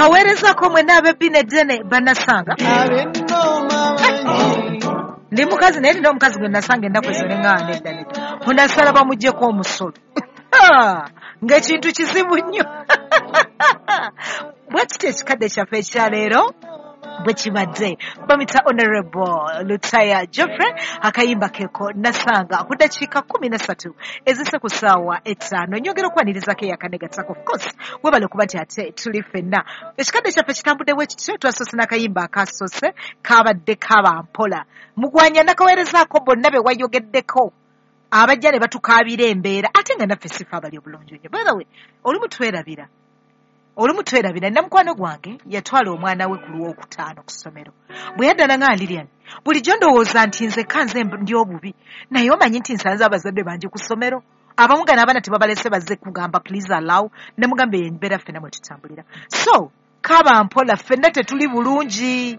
Nkaweerezako mwenna ab'ebbina eddene bannasanga. Ndi mukazi naye nina omukazi gwe nasanga ennaku ezo ne ŋŋaana nedda nedda. Onasala bamuggyeko omusolo. Ng'ekintu kizibu nnyo. Bwe kityo ekikadde kyaffe ekyaleero bwe kibadde. Bamuyita Honorable Lutaya Geoffrey, akayimba keko nasanga ku ddakiika 13 ezise ku ssaawa 5. Nyongera okwanirizaako eyakanegattako, of course webale okuba nti ate tuli ffenna. Ekikadde kyaffe kitambudde bwe kityo, twasoose n'akayimba akasoose kabadde kaba mpola. Mugwanya nakaweerezaako bonna be wayogeddeko abajja ne batukaabira embeera, ate nga naffe sifa abali obulungi nnyo. By the way, olumu twerabira. Olumu twerabira. Nina mukwano gwange yatwala omwana we ku Lwokutaano ku ssomero. Bwe yadda nanga Lilian, bulijjo ndowooza nti nze kanze ndi obubi, naye omanyi nti nsanze abazadde bangi ku ssomero. Abamu nga n'abaana tebabalese bazze kugamba please allow, ne mugamba eyo embeera ffenna mwe tutambulira. So kaba mpola ffenna tetuli bulungi.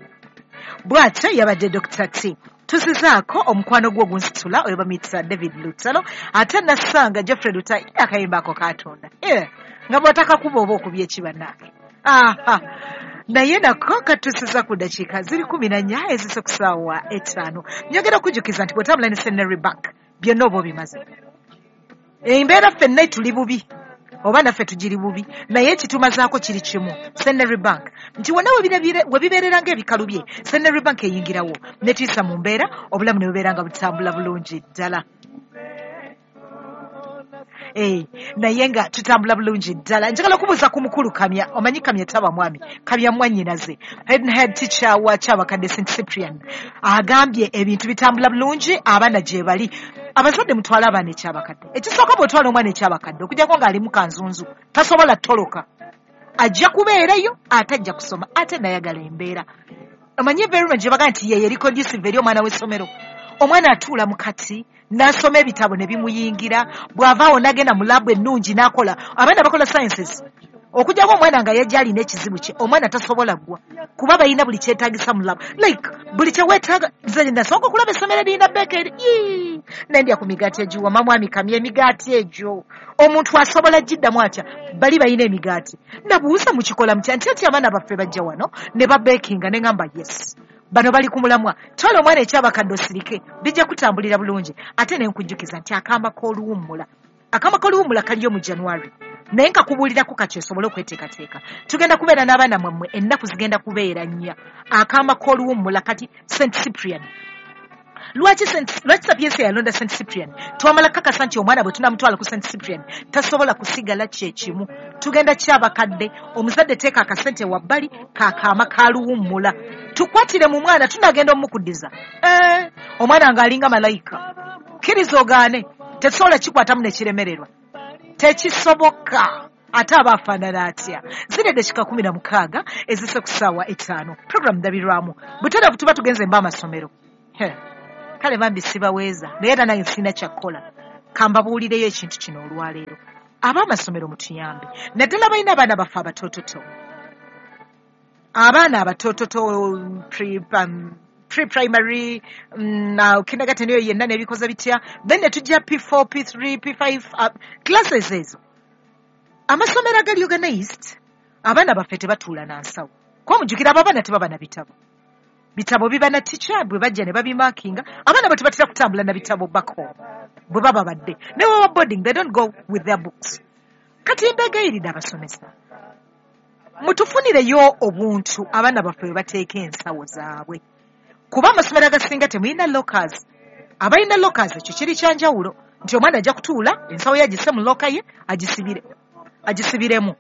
Bw'atyo yabadde Dr. T. Tusizaako omukwano gwo ogunsitula oyo bamuyita David Lutalo, ate nasanga Geoffrey Lutaya akayimba ako katonda. Nga bw'atakakuba oba okubye ekibannange. Aha. Naye nako katusiza ku ddakiika ziri 14 ezise ku ssaawa 5. Nyongera okujjukiza nti bw'otambula ne Centenary Bank byonna oba obimaze. Embeera ffenna tuli bubi oba naffe tugiri bubi, naye ekitumazaako kiri kimu, Centenary Bank nti wonna we bibeerera ng'ebikalu bye, Centenary Bank eyingirawo ne tuyisa mu mbeera, obulamu ne bubeera nga butambula bulungi ddala. Naye nga tutambula bulungi ddala. Njagala okubuuza ku mukulu Kamya. Omanyi Kamya taba mwami, Kamya mwannyinaze, head teacher wa Kyabakadde St Cyprian, agambye ebintu bitambula bulungi, abaana gye bali. Abazadde mutwale abaana ekyabakadde. Ekisooka bw'otwala omwana ekyabakadde, okuggyako ng'ali mu kanzunzu, tasobola ttoloka, ajja kubeerayo ate ajja kusoma, ate nayagala embeera. Omanyi environment gye bagamba nti ye eri conducive eri omwana w'essomero. Omwana atuula mu kati n'asoma ebitabo ne bimuyingira, bw'avaawo n'agenda mu laabu ennungi n'akola. Abaana bakola sciences. Okuggyako omwana nga yajja alina ekizibu kye, omwana tasobola ggwa kuba balina buli kyetaagisa mu laabu. Like buli kye weetaaga. Nze nasooka okulaba essomero erina bakery, nendya ku migaati egiwoma. Mwami Kamya, emigaati egyo omuntu asobola giddamu atya? Bali balina emigaati. Nabuuza mukikola mutya nti ati abaana baffe bajja wano ne babekinga, ne ŋŋamba yes, bano bali ku mulamwa. Twala omwana ekyabakadde osirike, bijja kutambulira bulungi. Ate ne nkujjukiza nti akamba k'oluwummula, akamba k'oluwummula kaliyo mu January, naye nkakubuulirako kati osobole okweteekateeka. Tugenda kubeera n'abaana mwammwe, ennaku zigenda kubeera 4. Akamba k'oluwummula kati St Cyprian. Lwaki Sapiensia yalonda St Cyprian? Twamala kakasa nti omwana bwe tunamutwala ku St Cyprian tasobola kusigala kye kimu. Tugenda kyabakadde, omuzadde teeka akasente wabbali kakaama kaluwummula, tukwatire mu mwana, tunagenda omukuddiza. Omwana ng'alinga malayika, kkiriza ogaane, tetusobola kikwatamu ne kiremererwa, tekisoboka. Ate aba afaanana atya? Ziri eddakiika 16 ezise ku ssaawa 5. Program ndabirwamu butereevu, tuba tugenze mba amasomero. Kale bambi sibaweeza, naye era nange sirina kyakkola. Kambabuulireyo ekintu kino olwaleero. Ab'amasomero mutuyambe, naddala balina abaana baffe abatoototo, abaana abatoototo pre-primary, kindergarten eyo yenna n'ebikoze bitya, then ne tujja P4, P3, P5 classes ezo. Amasomero agali organized, abaana baffe tebatuula na nsawo. Kuba mujjukira abo abaana tebaba na bitabo. Bitabo biba na teacher, bwe bajja ne babimakinga. Abaana bo tebatera kutambula na bitabo back home bwe baba badde. Ne baba boarding, they don't go with their books. Kati mbegayiridde abasomesa, mutufunireyo obuntu abaana baffe bwe bateeka ensawo zaabwe. Kuba amasomero agasinga temulina lockers. Abalina lockers ekyo kiri kya njawulo, nti omwana ajja kutuula ensawo ye agisse mu locker ye agisibiremu.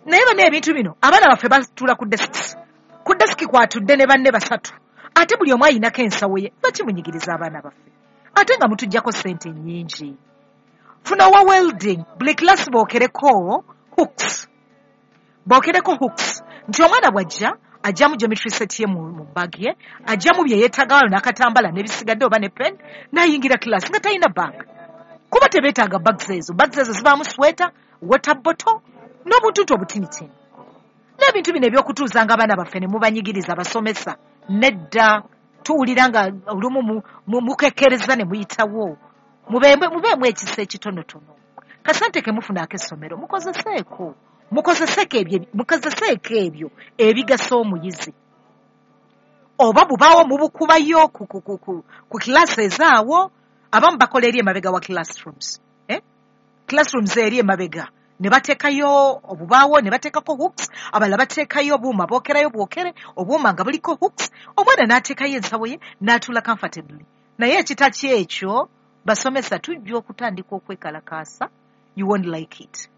Naye bano ebintu bino abaana baffe batuula ku desks. Ku deski kwatudde ne banne 3, ate buli omu ayinako ensawo ye. Bakimunyigiriza abaana baffe, ate nga mutuggyako ssente nnyingi. Funa owa welding, buli class bookereko hooks, bookereko hooks, nti omwana bw'ajja ajjamu geometry set ye mu bag ye, ajjamu bye yeetaaga wano n'akatambala n'ebisigadde oba ne pen, n'ayingira class nga talina bag. Kuba tebeetaaga bags ezo. Bags ezo zibaamu sweater, water bottle n'obuntuntu obutinitini. N'ebintu bino eby'okutuuzanga abaana baffe ne mubanyigiriza abasomesa, nedda. Tuwulira nga olumu mukekkereza ne muyitawo. Mubeemu ekisa ekitonotono. Kasente ke mufuna ak'essomero mukozeseeko. Mukozeseeko ebyo ebigasa omuyizi. Oba bubaawo mubukubayo ku classes awo, abamu bakola eri emabega wa classrooms. Classrooms eri emabega ne bateekayo obubaawo, ne bateekako hooks, abalala bateekayo obuuma bookerayo bwokere, obuuma nga buliko hooks, omwana n'ateekayo ensawo ye n'atuula comfortably. Naye ekitaki ekyo, basomesa tujja okutandika okwekalakaasa, you won't like it.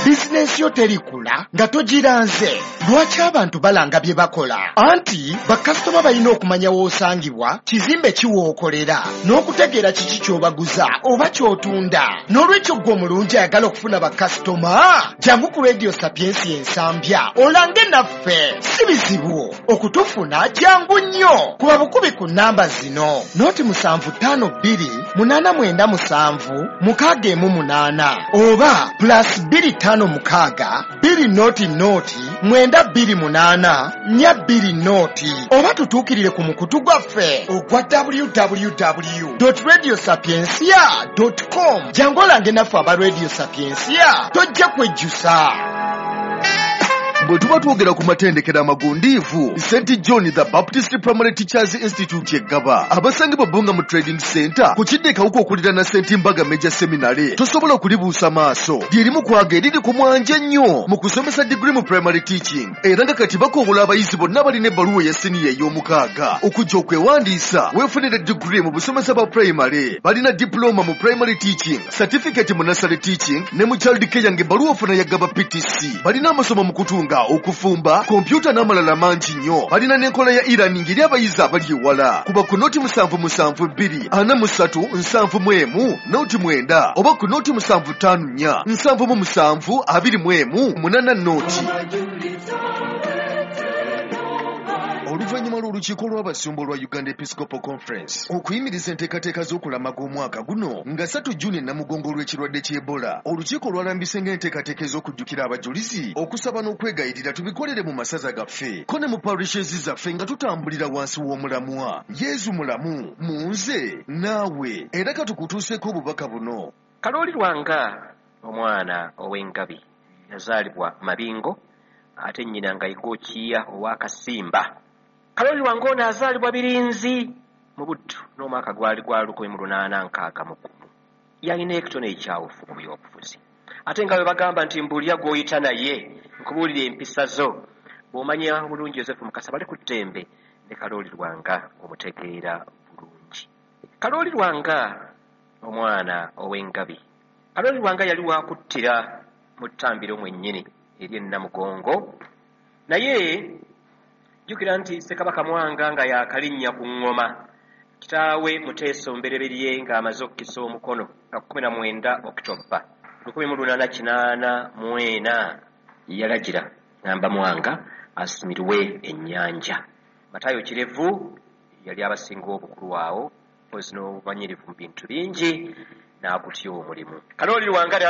Bizinensi yo terikula nga togiranze. Lwaki abantu balanga bye bakola? Anti bakasitoma balina okumanya w'osangibwa, kizimbe ki w'okolera, n'okutegeera kiki ky'obaguza oba ky'otunda. N'olwekyo ggwe omulungi ayagala okufuna bakasitoma, jangu ku Radio Sapiensia Ensambya olange naffe. Si bizibu okutufuna, jangu nnyo. Kuba bukubi ku nnamba zino: 075 2 897 618 oba +256 200 928 420, oba tutuukirire ku mukutu gwaffe ogwa www.radiosapiencia.com. Jangu olange naffe aba Radio Sapiensia, tojja kwejjusa. Bwe tuba twogera ku matendekero amagundiivu, St John the Baptist Primary Teachers Institute eggaba abasangibwa Bbunga mu Trading Center ku kidda ekawuka okuliraana St Mbaga Major Seminary, tosobola kulibuusa maaso. Lyerimu kwaga eriri ku mwanje ennyo mu kusomesa diguri mu primary teaching, era nga kati bakowola abayizi bonna balina ebbaluwa eya siniya ey'omukaaga okujja okwewandiisa weefunire diguri mu busomesa bwa primary. Balina diploma mu primary teaching, certificate mu nursery teaching ne mu child care, ng'ebbaluwa ofuna ya Gaba PTC. Balina amasomo mu kutunga, okufumba, kompyuta n'amalala mangi nnyo. Balina n'enkola ya e-learning eri abayizi abali ewala. Kuba ku 077 243 71 09 oba ku 0754 77 21 80. Oluvannyuma lw'olukiiko lw'abasumba olwa Uganda Episcopal Conference okuyimiriza enteekateeka z'okulamaga omwaka guno nga 3 Juni Namugongo olw'ekirwadde ky'Ebola, olukiiko lwalambise ng'enteekateeka ez'okujjukira abajulizi, okusaba n'okwegayirira tubikolere mu masaza gaffe ko ne mu parishes zaffe nga tutambulira wansi w'omulamwa Yezu mulamu mu nze naawe. Era katukutuuseeko obubaka buno. Kalooli Lwanga omwana ow'engabi yazaalibwa Mabingo, ate nnyina nga Igookiya ow'Akasimba. Kalooli Lwanga ono azaalibwa Birinzi mu Buddu n'omwaka gwali gwa 1861. Yalina ekitone ekyawufu mu byobufuzi, ate nga bwe bagamba nti mbulya gw'oyita naye nkubuulira empisa zo. Bw'omanya bulungi Yosefu Mukasa bali ku ttembe ne Kalooli Lwanga omutegeera bulungi. Kalooli Lwanga omwana ow'engabi, Kalooli Lwanga yali wakuttira mu ttambiro mwennyini eri Namugongo, naye jjukira nti Ssekabaka Mwanga nga yakalinnya ku ŋŋoma, kitaawe Muteesa Omubereberye ng'amaze okukisa omukono nga 19 Okitoba 1884, yalagira ngamba Mwanga asimirwe ennyanja. Matayo Kirevu yali abasinga obukulu awo, mpozi n'obumanyirivu mu bintu bingi, n'agutya omulimu. Kalooli Lwanga.